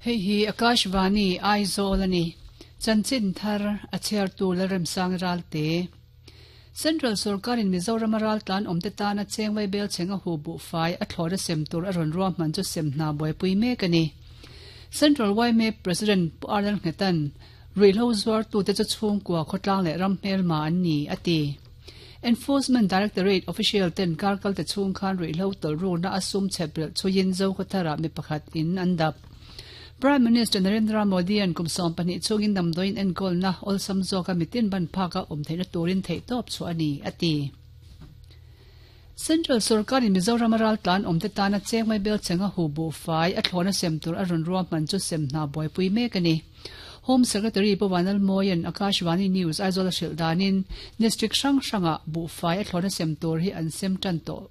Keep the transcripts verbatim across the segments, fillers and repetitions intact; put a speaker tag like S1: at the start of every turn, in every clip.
S1: Hei hi Akashvani Aizawl ani. Chanchin thar a chhiar tu Lalremsang Ralte. Central Sorkarin Mizoram ral tlan awmte tana chengwai bel chenga hu bu fai a thlawra sem tur a rawn ruahman chu sem hna buaipui mek a ni. Central Y M A President Pu Arnold Nghetan ruihhlo zuar tute chu chhungkua khawtlang leh ram hmelma an ni a ti. Enforcement Directorate official ten karkal te chhung khan ruihhlo tawlh rukna a sum chheprelh chhuiin Zokhawthara mi pakhat in an dap. Prime Minister Narendra Modi an kum sawm pahnih chungin damdawiin enkawlna awlsam zawka mitin ban phaka awm theihna turin theihtawp chu ani a ti. Central Sorkarin Mizoram ral tlan awmte tana chengmai bel chenga hu bu fai a thlawna sem tur a rawn ruahman chu sem hna buaipui mek a ni. Home Secretary Pu Vanlalmawia'n Akashvani News Aizawl a hrilh danin district hrang hranga buhfai a thlawna sem tur hi an sem tan tawh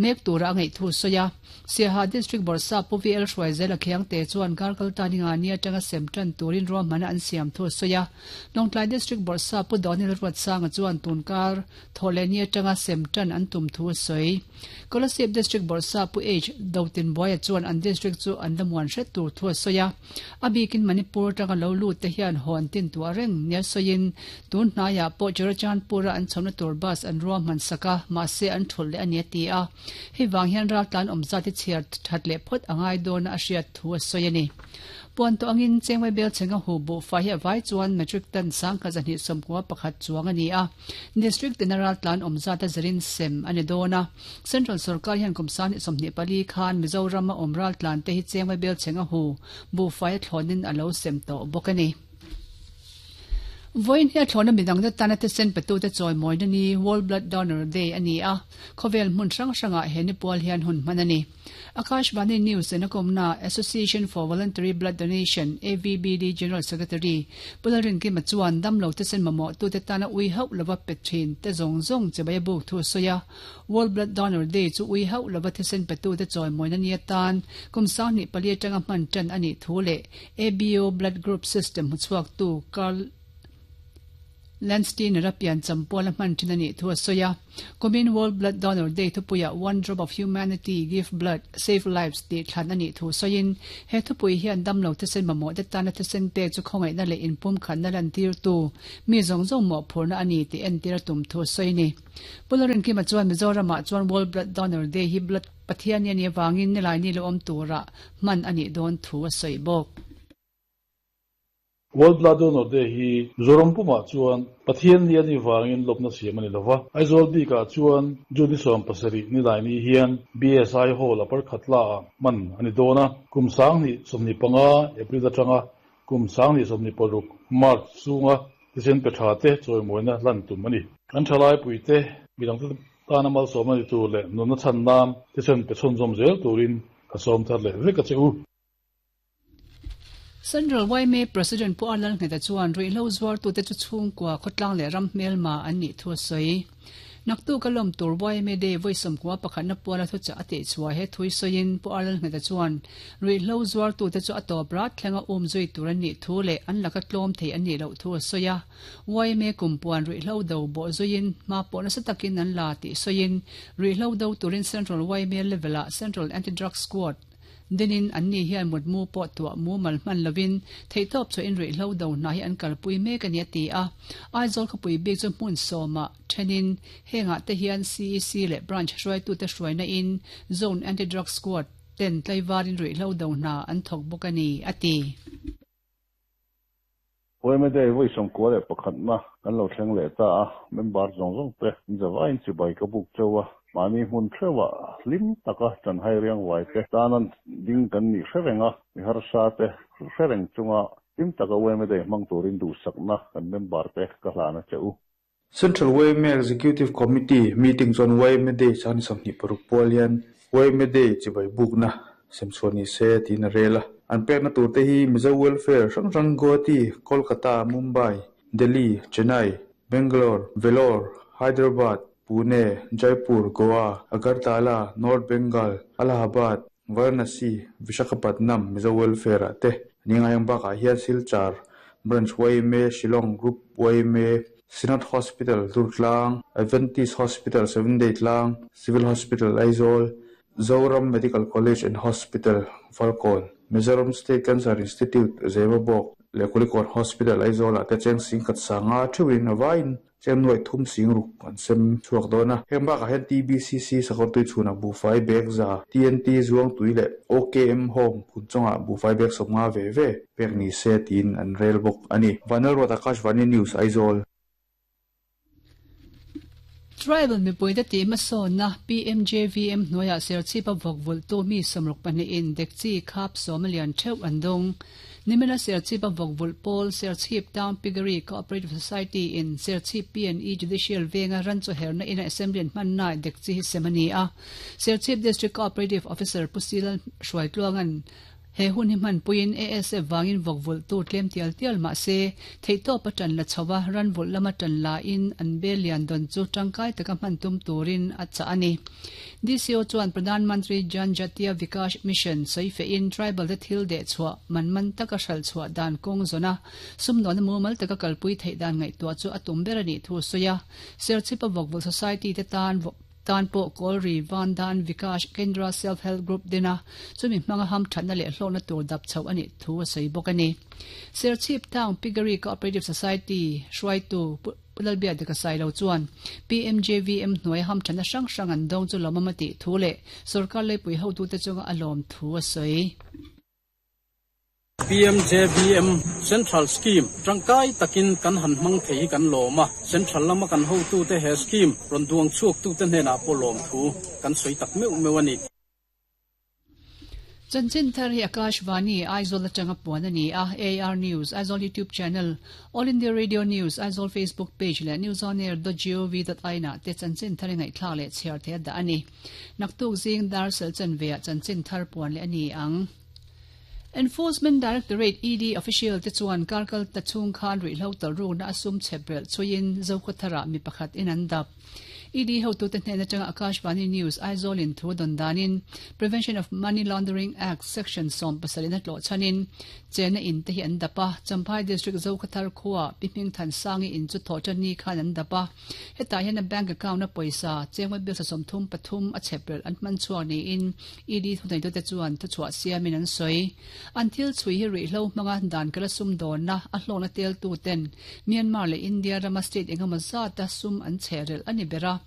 S1: mek tura a ngaih thu sawi a. Siaha District Bawrhsap Pu V L Hruaizela Khiangte chuan karkal ta ninga ni atanga sem tan turin ruahmana an siam thu sawi a. Lawngtlai District Bawrhsap Pu Daniel Ruatsanga chuan tunkar thawhleh ni atanga sem tan an tum thu sawi. Kolasib District Bawrhsap Pu H Dotinbuaia chuan an district chu an lamuan hret tur thu sawi a. A bikin Manipur tanga lo lut te hian hawn tin tua reng nia sawiin tun hnaiah pawh Churachandpura an chhawmna tur bus an ruahman saka mahse an thul leh ani a ti a. Hei wang hian ral tlan awm zat hi chhiar that leh phawt angai dawn a hriat thu a sawi a ni. Puan tawh angin chengmai bel chenga hu bu fai hi a vai chuan metric ton sangkhat zahnih sawmkua pakhat chuang a ni a. District tina ral tlan awm zat a zirin sem a ni dawn a. Central Sarkar hian kum sang hnih sawmhnih pali khan Mizoram a awm ral tlan te hi chengmai bel chenga hu bu fai a thlawnin a lo sem tawh bawk a ni. Voin hi a thlawna midang te tana thisen petu te chawimawina ni World Blood Donor Day ani a. Khawvel hmun hrang hrangah he ni pual hian hun hman a ni. Akashvani News in a kawmna Association for Voluntary Blood Donation A V B D General Secretary Pu Lalrinkima chuan damlo thisen mamawh tu te tana ui hauh lova pe thin te zawng zawng chibai a buk thu sawi a. World Blood Donor Day chu ui hauh lova thisen petu te chawimawina ni atan kum sang hnih pali atanga hman tan ani thu leh A B O Blood Group System hmuchhuak tu Karl Landsteiner a pian champual a hman thin ani thu a sawi a. Kumin World Blood Donor Day thupuia "One Drop of Humanity, Give Blood, Save Lives" ti thlan ani thu sawiin he thupui hian damlo thisen mamawh te tana thisen pe chu khawngaihna leh inpum khanna lan tir tu mi zawng zawng mawh phurna ani ti entir a tum thu sawi ni. Pu Lalrinkima chuan Mizoramah chuan World Blood Donor Day hi blood Pathian ni ani awangin nilai ni lo awm tura hman ani dawn thu a sawi bawk.
S2: World Blood Donor Day hi Mizoram pumah chuan Pathian ni ani wangin lawmna siam ani lova. Aizawl bikah chuan June sawm pasarih ni lai ni hian B S I Hall a parkhat la a man ani dawn a. Kum sang hnih sawmhnih panga April atanga kum sang hnih sawmhnih paruk March chunga thisen pe tha te chawimawina lan tum ani. Kan thalai puite midang te tana malsawm ani tur leh nunna chhan nan thisen pe chhunzawm zel turin ka sawm thar leh vek a che u.
S1: Central Y M A President Pu Arlal Ngheta chuan ruihhlo zuar tu te chu chhungkua khawtlang leh ram hmelma an nih thu a sawi. Naktu ka lawm tur Y M A Day voi sawmkua pakhatna puala thu cha a tih chhuah he thui sawiin Pu Arlal Ngheta chuan ruihhlo zuar tu te chu a tawp rat thlenga um zui tur an nih thu leh an laka tlawm thei an nih loh thu a sawi a. Y M A kumpuan ruihhlo do bawh zuiin hma pawh nasa takin an la tih sawiin ruihhlo do turin Central Y M A level-ah Central Anti-Drug Squad dinin an ni hian mutmu pawh tua mu mal hman lovin theihtawp chu in ruihhlo do hna hi an kalpui mek ani a ti a. Aizawl khawpui bik chu hmun sawma thenin henga te hian C E C leh branch hruaitu te hruaina in Zone Anti-Drug Squad ten tlaivarin ruihhlo do hna an thawk bawk ani a ti.
S3: Y M A Day voi sawmkua leh pakhatna kan lo thleng leh ta a. Member zawng zawng te zawain chibai ka buk cheu a. Mahni hmun theuha hlim taka chanhai riang vai te tanan ding kan nih hrerenga mi harsa te hrereng chunga hlim taka Y M A Day hmang turin duhsakna kan member te ka hlana che u.
S4: Central Y M A Executive Committee meeting chuan Y M A Day sang sawmhnih paruk pual hian Y M A Day chibai bukna semchhuah ni se tiin a rel a. An pekna tur te hi Mizo Welfare hrang hrang Guwahati, Kolkata, Mumbai, Delhi, Chennai, Bangalore, Vellore, Hyderabad, Pune, Jaipur, Goa, Agartala, North Bengal, Allahabad, Varanasi, Visakhapatnam Mizo Welfare ah te ani ngaiang bakah hian Silchar Branch Y M A, Shillong Group Y M A, Synod Hospital Durtlang, Adventist Hospital Seven Day Tlang, Civil Hospital Aizawl, Zoram Medical College and Hospital Falkawn. Mizoram State Cancer Institute Zemabawk leh Kulikawn Hospital Aizawl ah te cheng sing khat sanga theuhin a vaiin cheng nuai thum sing ruk an sem chhuak dawn a. Heng bakah hian T B C C sakawr tui chhunah buhfai bag za T N T zuang tui leh O K M Home phun chungah buhfai bag sawmnga ve ve pek ni se tiin an rel bawk a ni. Vanlalruat Akashvani News Aizawl.
S1: Tribal mipui te tih hmasawnna P M J V M hnuaiah Serchhip a vawk vulh tu mi sawmruk pahnih in dekchi khap sawm a lian theuh an dawng. Nimina Serchhip a vawk vulh pawl Serchhip Town Piggery Cooperative Society in Serchhip P and E Judicial venga ran chu herna ina assembly an hmanna dekchi hi sem a ni a. Serchhip District Cooperative Officer Pu Silal Hruaitluangan he hun hi hman puiin A S F wangin vawk vulh tu tlem tial tial mah se theihtawp a tan la chhowa ran vulh lama tan la in an bel lian dawn chu tangkai taka hman tum turin a chah a ni. D C O chuan Pradhan Mantri Jan Jatiya Vikash Mission sawi in tribal te thil deh chhuah man man taka hral chhuah dan kawng zawna sumdawn mumal taka kalpui theih dan ngaihtuah chu a tum ber a nih thu sawi a. Serchhip a vawk vulh society te tan tan pawh Kawlri Van Dan Vikash Kendra Self Help Group dina chumi hmanga ham thatna leh hlawkna tur dap chho a nih thu a sawi bawk a ni. Serchhip Town Piggery Cooperative Society hruaitu Pulalbia deka sailo chuan P M J V M hnuai ham thatna hrang hrang an dawng chu lawmawm a tih thu leh sarkar leipui hotu te chunga a lawm thu a sawi.
S5: P M J V M Central Scheme tangkai takin kan han hmang thei kan lawma Central lama kan ho tu te he scheme ron duang chuak tu te hnena pawh lawm thu kan sawi tak meuh meuh a ni.
S1: Chanchin thar hi Akashvani Aizawl atanga puan a ni a. A R News Aizawl YouTube channel All India Radio News Aizawl Facebook page leh news on air dot gov dot in ah te chanchin thar ngai thla leh chhiar the da ani. Naktuk zing dar sel chan ve a chanchin thar puan le ani ang. Enforcement Directorate E D official te chuan karkal ta chung khan ri hlo tal ru na asum chebrel chuin zokothara mi pakhat in an dap. E D ho tu te hnena changa Akashvani News Aizawl in thu don danin Prevention of Money Laundering Act section som pasarina tlo chanin chena in te hi an dapa. Champhai District Zokothar khuwa pihming than sangi in chu tho chani khan an dapa. Heta hian a bank account na poisa chengwa bil sa som thum pathum a chebrel an man chuak ni in E D thu nei tu te chuan thu chhuah siamin an soi. An thil chui hi ri hlo hmanga dan kala sum dawn na a hlawna tel tu ten Myanmar le India rama state engemaw zata sum an chherel ani bera.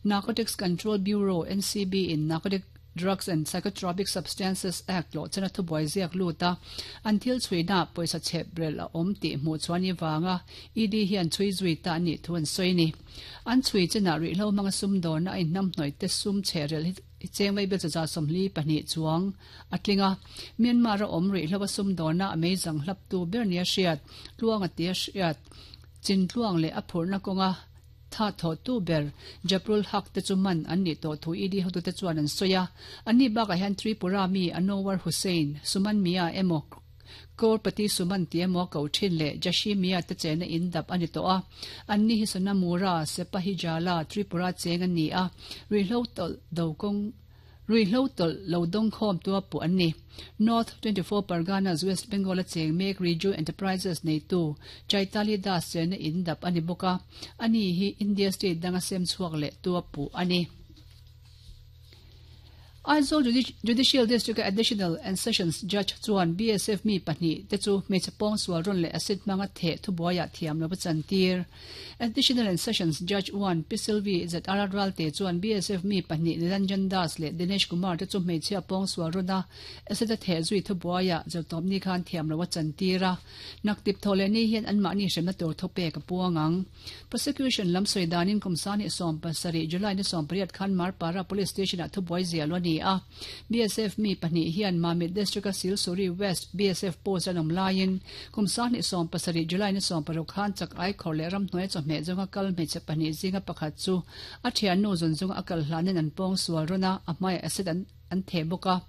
S1: Narcotics Control Bureau N C B in Narcotic Drugs and Psychotropic Substances Act lo chana thu boi ziak luta an thil chui na poisa chebrel a om ti hmu chuan i wanga E D hian chui zui ta ni thu an soi ni. An chui chana ri hlo hmanga sum dawn na in nam hnoi te sum chherel hi chengwei bel cha somli pahnih chuang atlinga Myanmar a om ri hlowa sum dawn na amazing hlap tu ber nia hriat tluang atia hriat chin tluang le a phurna kawnga tha tho tu ber Japrul Hak te chu man an ni to thu E D hotu te chuan an soya. Ani baka hian Tripura mi Anwar Hussain Suman Mia emo Korpati Suman ti emo ko thin le Jashi Mia te chena in dap ani to a. Anni hi Sonamura Sepahijala Tripura cheng ani a. Ri hlo tol do kong Rui hlo tol lo dong khom tua pu anni. North twenty-four Parganas West Bengal cheng mek Riju Enterprises nei tu Chaitali Das chen in dap ani boka. Ani hi India state danga sem chuak le tua pu ani. Aizawl Judicial District Additional and Sessions Judge chuan B S F mi pahnih te chu hmeichhe pawng sual rawn leh acid hmanga theh thubuaiah thiam lo chantir. Additional and Sessions Judge one P Silvi Z R Ralte chuan B S F mi pahnih Niranjan Das leh Dinesh Kumar te chu hmeichhe pawng sual rawn a acid a theh zui thubuaiah zawtawm ni khan thiam lo chantir a. Naktip thawle ni hian an mahni hremna tur thupek a puangang. Prosecution lam sawi danin kumsani sawm pasarih July ni sawm pariat khan Marpara Police Station ah thubuai zia lo ni a. B S F mi pahnih hian Mamit District a Silsuri West B S F post an awm laiin kumsani sawm pasarih July ni sawm paruk khan chak ai khawr leh ram hnuai chawhmeh zawnga kal hmeichhe pahnih zinga pakhat chu a thian nu zawn zawnga a kal hlanin an pawng sual rawn a a hmaiah acid an an theh bawk a.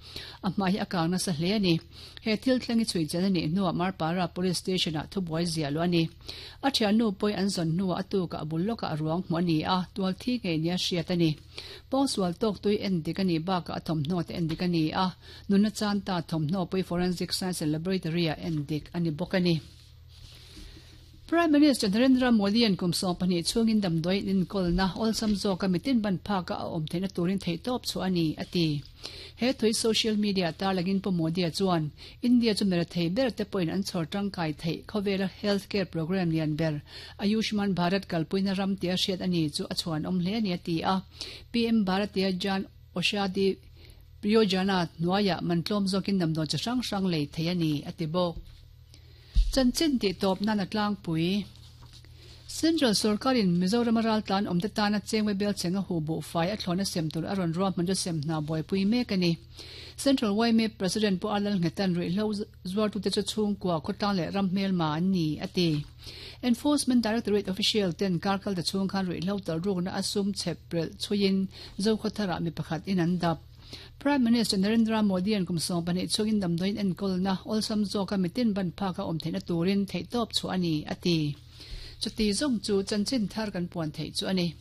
S1: A hmai hi a kang nasa hle ani. He thil thlengi chhui chen ani hnuah Marpara Police Station ah thubuai zia lo ani. A thian nu pawh an zawn hnuah a tuka a bul lawkah a ruang hmu ani a tual thi ngei nia hriat ani. Pawng sual tawk tui en dik ani bakah a thawmhnaw te en dik ani a. Nuna chan ta thawmhnaw pawh Forensic Science and Laboratory ah en dik ani bawk ani. Prime Minister Narendra Modi an kum sawm pahnih chhungin damdawi inkolna awlsam zawka mitin ban phaka a awm theihna turin theihtawp chu a ni a ti. He thui social media tarlangin Pu Modi a chuan India chu mera thei ber te pawhin an chhawr tangkai theih khawvela healthcare program lian ber Ayushman Bharat kalpuina ram tia hriat a ni chu a chhuan awm hle a ni a ti a. P M Bharatiya Jan Aushadhi Yojana hnuaiah mantlawm zawkin damdawi chi hrang hrang lei thei a ni a ti bawk. Chanchin tih tawp nan a tlangpui. Central Sorkarin Mizoram raltlan awmte tana chengwe bel chenga hu buhfai a thlawna sem tur a rawn ruahman chu sem hna buaipui mek a ni. Central Y M A President Pu Alal Nghetan ruihhlo zuartute chu chhungkua khawtlang leh ram hmelma an ni a ti. Enforcement Directorate official ten karkal ta chhung khan ruihhlo talrukna a sum chheprelh chhuiin Zokhawtharah mi pakhat in an dap. Prime Minister Narendra Modi an kum sawm pahnih chhungin damdawiin enkolna awlsam zawka mitin ban phaka awm theihna turin theihtawp chu a ni a ti. Chuti zawng chu chanchin thar kan puan theih chu a ni.